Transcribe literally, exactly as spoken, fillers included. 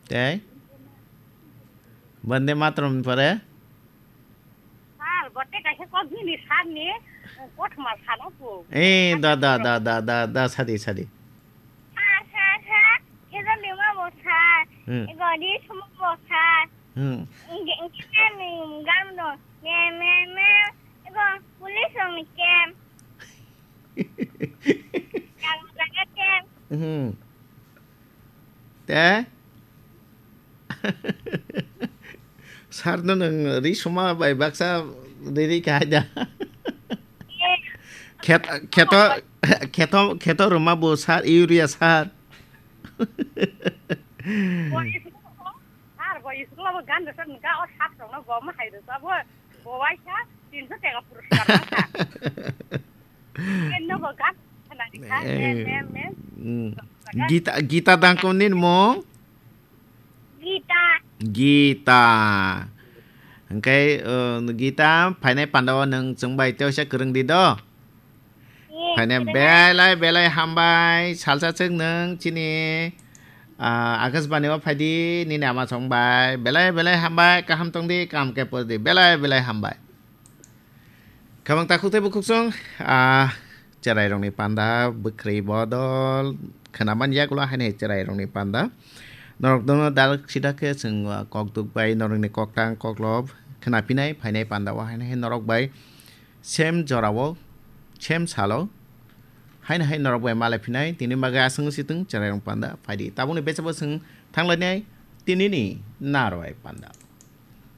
Tei? Bande Mataram ni pore? Sir, bote kaisa kok bini sir ni, kothoma sano po. Eh, da, da, da, da, da, da, sadi, sadi. Sir, sir, sir, kisa lima bo sir. Hmm. Ego di sumo bo sir. Hmm. Nge, nge, nge, nge, gam do. Me, me, me. Ego, police rong ni kem. Gam jaga kem. Hmm. Te? Sir no nwng ri suma bai baksa ri ri kha da. Khet-, kheto, kheto, kheto ruma bo sir, urea sir. Bo isuk-, sir, bo isuk labo gan rwchapni ga o sir rokno bo ma hai rwchabo. Bo waisa tinso teka puruskar ma kha. Ken no bo gan khna ni kha, Eh, men, men, men. Mm. Gita, Gita dangkon ni mung? Gita. Gita. Hingke, eh, Gita, phainai pandao nwng chwng bai tei oisa kwrwng di do. Ye, Phainai kwrwng. Belai, belai hambai. Salsa chwng nwng chini, ah, Akashbani o phaidi, nini ama song bai. Belai, belai hambai. Kaham tong di, kaham khe por di. Belai, belai hambai. Khamang takhuk tei bukhuksong, ah, cherai rokni panda, bwkhri bodol, khwnaman yagulo haino cherai rokni panda. Norok dono dalok sida khe chwng, ah, kok duk bai, norokni koktang koklop khwnapinai phainai panda o haino hai norok bai same jorao, same salo, haino hai norok bai malai phinai, tini bagwi aswk wngsi thung cherai rok panda phaidi. Tabukni bechabo chwng thanglainai tinini narwai panda.